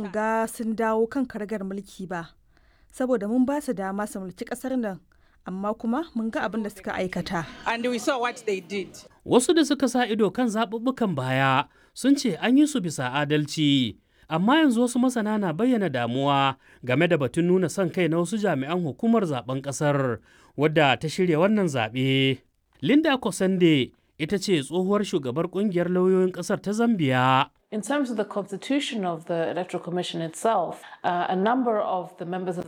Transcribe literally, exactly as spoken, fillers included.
in ga sun dawo kan karagar mulki ba, saboda mun ba su dama su mulki ƙasar nan, amma kuma mun ga abin da suka aikata. And we saw what they did. Wasu da suka sa ido kan zaɓuɓɓukan baya sun ce an yi su bisa adalci. Amma yanzu wasu masana na bayyana damuwa game da batun nuna son kai na wasu jami'an hukumar zaben ƙasar wadda ta shirya wannan zaɓe. Linda Kosande ita ce tsohuwar shugabar ƙungiyar lauyoyin ƙasar ta Zambiya. In terms of the constitution of the Electoral Commission itself, uh, a number of the members of